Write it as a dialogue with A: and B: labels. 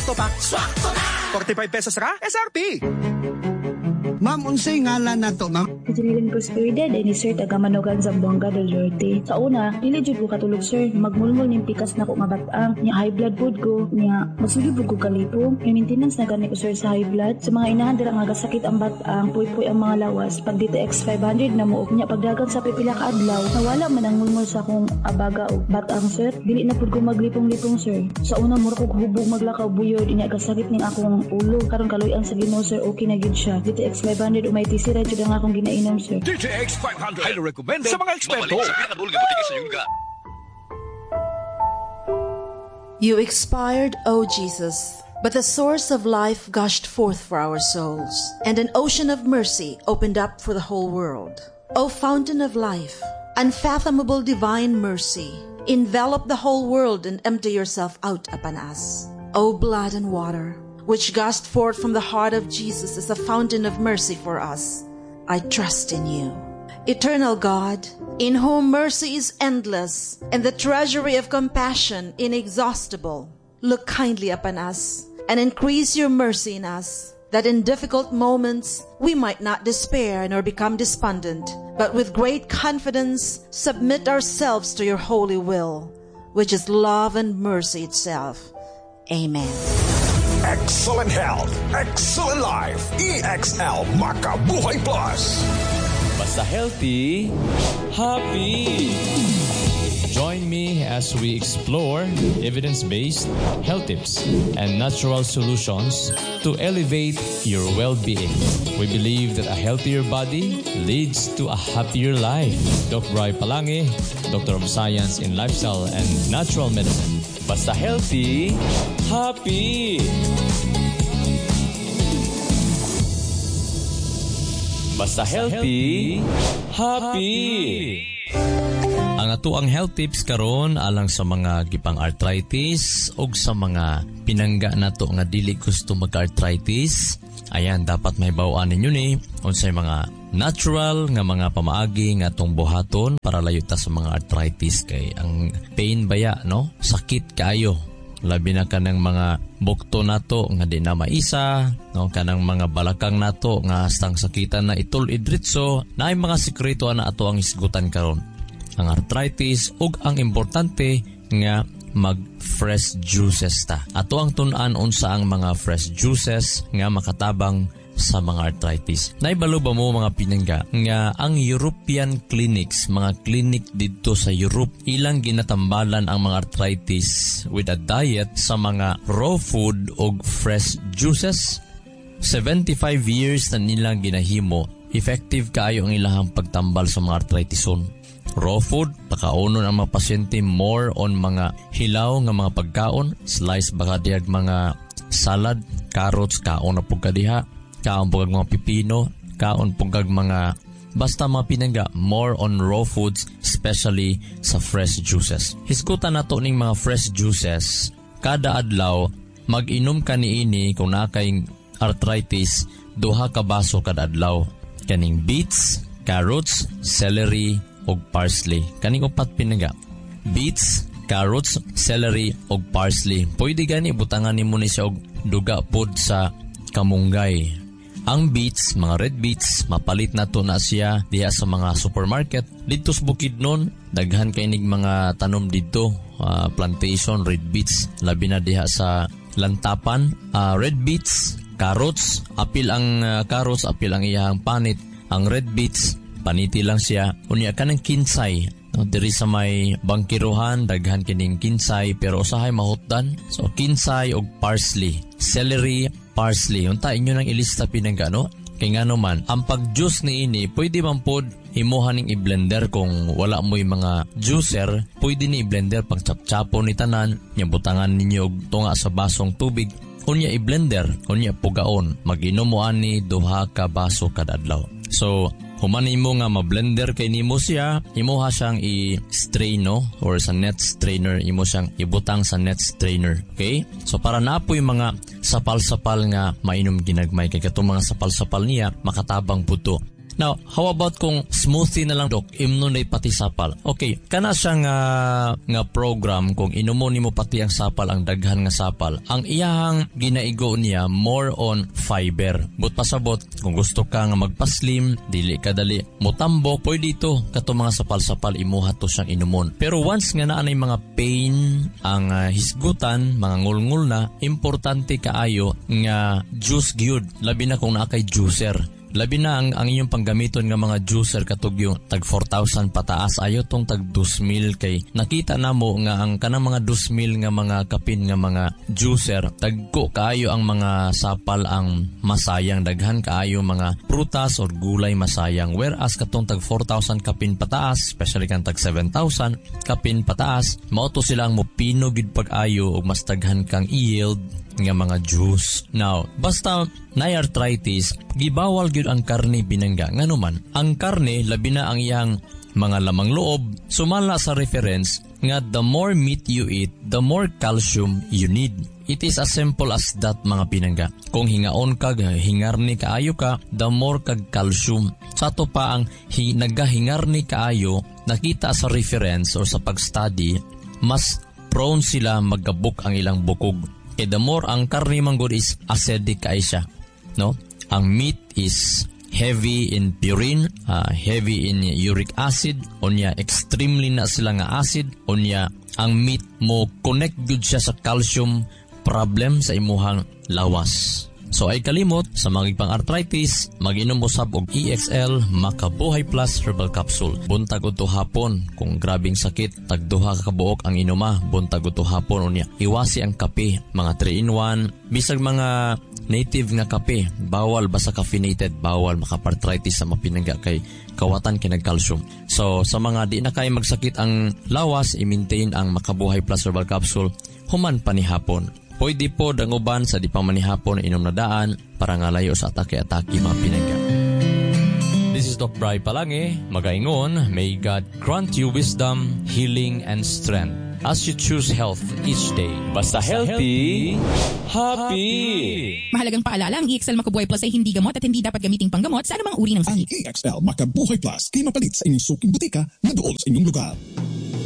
A: Sakto pa, swakto na! 45 pesos ra, SRP!
B: Ma'am, unsay ngalan nato, ma'am?
C: Jeneline Prosperidad ni sir, taga Manogan, Zamboanga del Norte. Sa una, dili jud ko katulog, sir. Magmulmol ning pikas nako nga batang. Nya high blood pud ko. Nya magsige pud ko kalipong. May maintenance na gani ko, sir, sa high blood. Sa mga inahan dira nga gasakit ang batang, puy-puy ang mga lawas. Pag DTX 500 na mo, nya pagdagan sa pipila ka adlaw, nawala man ang mulmol sa akong abaga o batang, sir. Dili na pud ko maglipong-lipong, sir. Sa una mura kog hubog maglakaw, buyod, nya gasakit ning akong ulo. Karon kaluy-an sa Ginoo, sir, okay na gyud siya. DTX 500 umay TC ra jud ang akong ginainom, sir.
A: DTX 500. Highly recommended sa mga eksperto.
D: Mabalik sa pinakaduol nga butika sa inyong lugar.
E: You expired, O Jesus, but the source of life gushed forth for our souls, and an ocean of mercy opened up for the whole world. O fountain of life, unfathomable divine mercy, envelop the whole world and empty yourself out upon us. O blood and water, which gushed forth from the heart of Jesus as a fountain of mercy for us, I trust in you. Eternal God, in whom mercy is endless and the treasury of compassion inexhaustible, look kindly upon us and increase your mercy in us, that in difficult moments we might not despair nor become despondent, but with great confidence submit ourselves to your holy will, which is love and mercy itself. Amen.
F: Excellent health, excellent life. EXL Makabuhay Plus.
G: Basta healthy, happy. Join me as we explore evidence-based health tips and natural solutions to elevate your well-being. We believe that a healthier body leads to a happier life. Doc Bry Palangi, Doctor of Science in Lifestyle and Natural Medicine. Basta healthy, happy. Basta healthy, happy. Ang ato ang health tips karon alang sa mga gipang arthritis og sa mga pinangga nato nga dili gusto mag-arthritis. Ayan, dapat mahibaw-an ninyo ni unsay mga natural nga mga pamaagi nga atong buhaton para layo ta sa mga arthritis kay ang pain baya, no? Sakit kaayo. Labi na kanang mga bukto nato nga di na maisa, no, kanang mga balakang nato nga hastang sakitan na itul-idritso, naay mga sikreto na ato ang isgutan karon. Ang arthritis ug ang importante nga mag fresh juices ta. Ato ang tun-an unsa ang mga fresh juices nga makatabang sa mga arthritis. Naibalo ba mo mga pinangga nga ang European clinics, mga clinic didto sa Europe, ilang ginatambalan ang mga arthritis with a diet sa mga raw food og fresh juices? 75 years na nilang ginahimo, effective kaayo ang ilahang pagtambal sa mga arthritison. Raw food, pakaonon ang mga pasyente more on mga hilaw nga mga pagkaon, slice baka dihag mga salad, carrots, kaon na pug kadiha, kaon pug mga pipino, kaon pug mga basta mga pinangga, more on raw foods, especially sa fresh juices. Hisgutan nato ning mga fresh juices, kada adlaw mag-inom ka niini kung naa kay arthritis, 2 ka baso kada adlaw. Kaning beets, carrots, celery ug parsley. Kaning upat pinangga. Beets, carrots, celery ug parsley. Pwede gani butangan nimo ni siya og duga pod sa kamunggay. Ang beets, mga red beets, mapalit na to na siya diha sa mga supermarket. Dito sa Bukidnon, daghan kay nig mga tanom didto, plantation, red beets, labi na diha sa Lantapan. Red beets, carrots, apil ang carrots, apil ang iyang panit. Ang red beets, paniti lang siya. Unya kanang kinsay, no, diri sa may bangkiruhan, daghan kining kinsay, pero usahay mahutdan. So kinsay og parsley, celery, parsley. Unta inyo nang ilista pinangga, no? Kay ngano man, ang pag-juice niini, pwede man pod himuha ning i-blender kung wala mo'y mga juicer, pwede ni i-blender pag chap-chapon ni tanan, nya butangan ninyo og tunga sa basong tubig, unya i-blender, unya pugaon, mag-inom mo ani 2 ka baso kada adlaw. So, human nimo nga ma-blender kay nimo siya, imuha siyang i-strain, no? Or sa net strainer, imo siyang ibutang sa net strainer. Okay? So, para napoy mga sapal-sapal nga mainom ginagmay, kay katong mga sapal-sapal niya, makatabang puto. Now, how about kung smoothie na lang, Dok, imnon na pati sapal? Okay, kana siya nga program kung inumo nimo pati ang sapal, ang daghan nga sapal, ang iyahang ginaigo niya more on fiber. But pasabot, kung gusto ka nga magpaslim, dili ka dali mutambok, pwede ito kato mga sapal-sapal imuha to siyang inumon. Pero once nga naa nay mga pain, ang hisgutan, mga ngulngul na, importante kaayo nga juice gyud, labi na kung naa kay juicer. Labi na ang inyong panggamiton nga mga juicer katog yung tag 4,000 pataas, ayo tong tag 2,000 kay nakita namo nga ang kanang mga 2,000 nga mga kapin nga mga juicer, tagko kaayo ang mga sapal ang masayang, daghan kaayo mga prutas or gulay masayang, whereas katong tag 4,000 kapin pataas, especially kan tag 7,000 kapin pataas, mao to sila ang mopino gid pag-ayo og mas daghan kang yield nga mga juice. Now, basta nay arthritis, gibawal gyud ang karne binangga. Nganuman, ang karne labi na ang iyang mga lamang loob, sumala sa reference nga the more meat you eat, the more calcium you need. It is as simple as that mga pinangga. Kung hingaon kag hingarni kaayo ka, the more kag calcium. Sa ato pa ang nagahingarni kaayo, nakita sa reference or sa pag-study, mas prone sila magkabuk ang ilang bukog. Kaya the more ang karne manggod is acidic kay siya, no? Ang meat is heavy in purine, heavy in uric acid, unya extremely na sila nga acid, unya ang meat mo connect gud siya sa calcium problem sa imuhang lawas. So ay kalimot sa mga ipang arthritis, mag-inom usab og EXL Makabuhay Plus Herbal Capsule. Buntag udto hapon kung grabing sakit, tag duha ka kabuok ang inuma, buntag udto hapon unya. Iwasi ang kape, mga 3-in-1, bisag mga native nga kape, bawal basta caffeinated, bawal makaparthritis sa mapinangga kay kawatan kay nag-calcium. So sa mga di na kay magsakit ang lawas, i-maintain ang Makabuhay Plus Herbal Capsule human pa ni hapon. Pwede po ang uban sa di pa manihapon inom na daan para nga layo sa atake-atake mga pinangga. This is Doc Bry Palangi, magaingon, may God grant you wisdom, healing, and strength as you choose health each day.
D: Basta healthy, happy!
H: Mahalagang paalala, ang EXL Makabuhay Plus ay hindi gamot at hindi dapat gamiting panggamot sa anumang uri ng sakit.
F: Ang EXL Makabuhay Plus kay mapalit sa inyong suking butika na dool sa inyong lugar.